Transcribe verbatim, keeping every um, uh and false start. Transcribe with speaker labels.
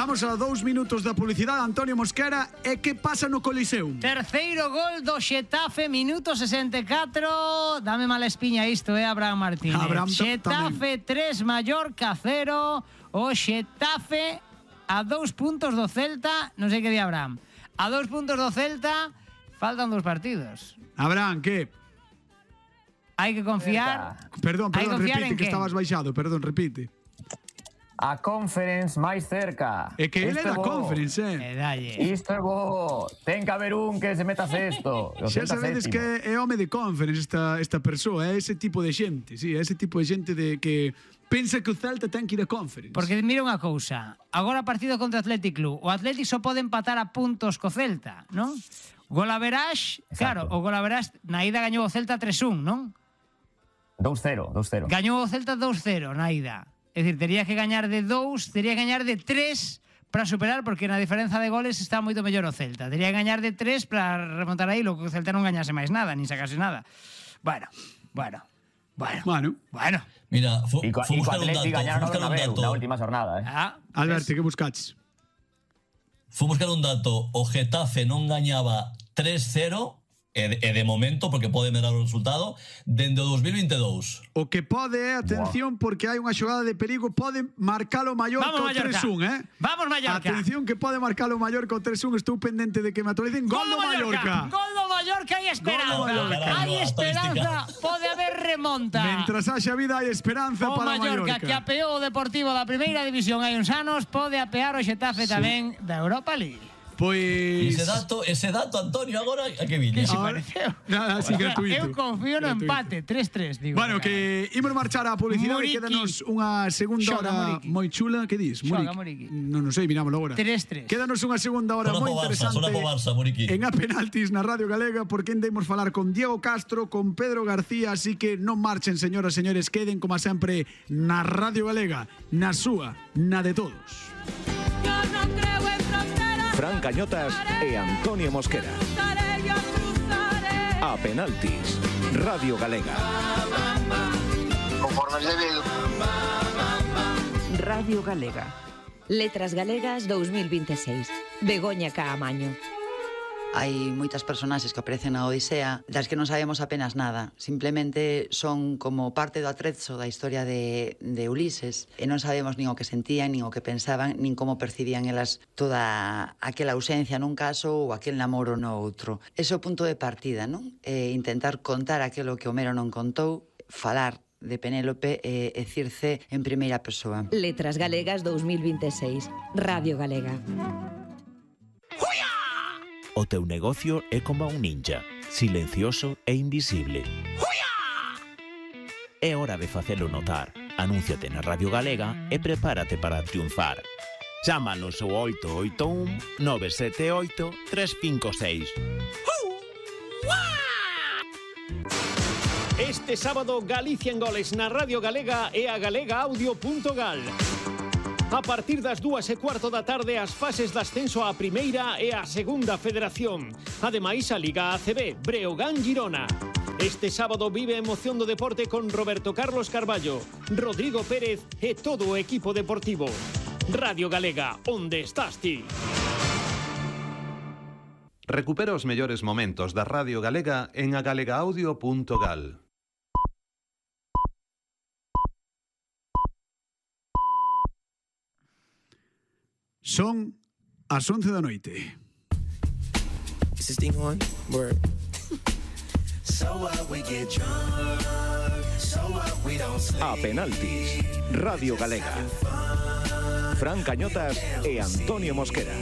Speaker 1: Estamos a dous minutos da publicidade, Antonio Mosquera. E que pasa no Coliseum?
Speaker 2: Terceiro gol do Xetafe, minuto sesenta e catro. Dame mala espiña isto, eh, Abraham Martínez.
Speaker 1: Abraham
Speaker 2: Xetafe tres, Mallorca cero. O Xetafe a dous puntos do Celta. Non sei que di Abraham. A dous puntos do Celta, faltan dous partidos.
Speaker 1: Abraham, que?
Speaker 2: Hai que confiar.
Speaker 1: Perdón, perdón, repite que
Speaker 2: quen?
Speaker 1: estabas baixado. Perdón, repite.
Speaker 3: A Conference máis cerca.
Speaker 1: É que ele é da
Speaker 3: bo.
Speaker 1: Conference, eh?
Speaker 2: E dalle.
Speaker 3: Isto é bo. Ten que haber un que se meta sexto.
Speaker 1: Xa sabedes que é home de Conference esta, esta persoa, é ese tipo de xente, sí, é ese tipo de xente de que pensa que o Celta ten que ir a Conference.
Speaker 2: Porque mira unha cousa, agora partido contra o Athletic Club, o Athletic só pode empatar a puntos co Celta, non? Golaverage, claro, o Golaverage na ida gañou o Celta tres un, non?
Speaker 3: dous cero, dous cero.
Speaker 2: Gañou o Celta dous cero na ida. É dicir, tería que gañar de dous, tería que gañar de tres para superar, porque na diferenza de goles está moito mellor o Celta. Tería que gañar de tres para remontar aí, lo que o Celta non gañase máis nada, nin sacase nada. Bueno, bueno, bueno,
Speaker 1: Bueno.
Speaker 2: bueno.
Speaker 4: Mira, fu,
Speaker 3: E co
Speaker 4: fu buscar un dato, fu
Speaker 3: gañaron
Speaker 4: buscar
Speaker 3: na
Speaker 4: un
Speaker 3: Beu,
Speaker 4: dato.
Speaker 3: na última jornada, eh.
Speaker 2: Ah,
Speaker 1: Alberto, que buscaches?
Speaker 4: Fu buscar un dato. O Getafe non gañaba tres cero, e de, e de momento, porque pode merar o resultado, dende o dos mil veintidous.
Speaker 1: O que pode é, atención, porque hai unha xogada de perigo, pode marcar o Mallorca
Speaker 2: Vamos,
Speaker 1: o
Speaker 2: Mallorca.
Speaker 1: tres un, eh?
Speaker 2: Vamos, Mallorca.
Speaker 1: Atención que pode marcar o Mallorca o tres un, estou pendente de que me actualicen. Gol do Mallorca.
Speaker 2: Gol do Mallorca, hai esperanza.
Speaker 1: Gol do Mallorca.
Speaker 2: Hai
Speaker 4: Caralho,
Speaker 2: esperanza,
Speaker 4: estadística.
Speaker 2: pode haber remonta.
Speaker 1: Mentras haxa vida hai esperanza
Speaker 2: O
Speaker 1: para o
Speaker 2: Mallorca,
Speaker 1: Mallorca.
Speaker 2: que apeou o Deportivo da primeira división hai uns anos, pode apear o Xetafe tamén da Europa League.
Speaker 1: Pois...
Speaker 4: Ese dato, ese dato, Antonio, agora a que viña.
Speaker 2: Que se
Speaker 1: Ahora-
Speaker 2: pareceu.
Speaker 1: Nada, así gratuito.
Speaker 2: Eu confío no
Speaker 1: Gratuito.
Speaker 2: empate, tres tres, digo.
Speaker 1: Bueno, que imos marchar á publicidade.
Speaker 2: Muriqui.
Speaker 1: Quédanos unha segunda
Speaker 2: Xoga,
Speaker 1: hora
Speaker 2: Muriqui.
Speaker 1: moi chula. Que dis?
Speaker 2: Xoga, Muriqui.
Speaker 1: Non, non sei, mirámoslo agora.
Speaker 2: tres tres.
Speaker 1: Quédanos unha segunda hora
Speaker 4: Sona
Speaker 1: moi
Speaker 4: po Barça,
Speaker 1: interesante
Speaker 4: sona po Barça, Muriqui.
Speaker 1: en A Penaltis na Radio Galega, porque endemos falar con Diego Castro, con Pedro García, así que non marchen, señoras e señores, queden como sempre na Radio Galega, na súa, na de todos.
Speaker 5: Yo no creo en fronteras.
Speaker 6: Fran Cañotas e Antonio Mosquera.
Speaker 5: Cruzaré, yo cruzaré.
Speaker 6: A Penaltis, Radio Galega.
Speaker 7: Radio Galega. Letras Galegas dous mil vinte e seis. Begoña Caamaño.
Speaker 8: Hai moitas personaxes que aparecen na Odisea das que non sabemos apenas nada. Simplemente son como parte do atrezzo da historia de, de Ulises e non sabemos nin o que sentían, nin o que pensaban, nin como percibían elas toda aquela ausencia nun caso ou aquel namoro no outro. Ese é o punto de partida, non? E intentar contar aquilo que Homero non contou, falar de Penélope e, e Circe en primeira persoa.
Speaker 7: Letras Galegas dous mil vinte e seis. Radio Galega.
Speaker 6: O teu negocio é como un ninja, silencioso e invisible. É hora de facelo notar. Anúnciate na Radio Galega e prepárate para triunfar. Chámanos ao oito oito un nove sete oito tres cinco seis.
Speaker 9: Este sábado Galicia en goles na Radio Galega e a galega audio punto gal. A partir das dúas e cuarto da tarde as fases de ascenso á primeira e á segunda federación. Ademais a Liga A C B, Breogán Girona. Este sábado vive a emoción do deporte con Roberto Carlos Carballo, Rodrigo Pérez e todo o equipo deportivo. Radio Galega, onde estás ti?
Speaker 10: Recupera os mellores momentos da Radio Galega en a galega audio punto gal.
Speaker 1: Son as once da noite.
Speaker 11: Is this thing on? Word. So what we get drunk, so what we don't sleep.
Speaker 6: A Penaltis, Radio Galega. Fran Cañotas e Antonio Mosquera.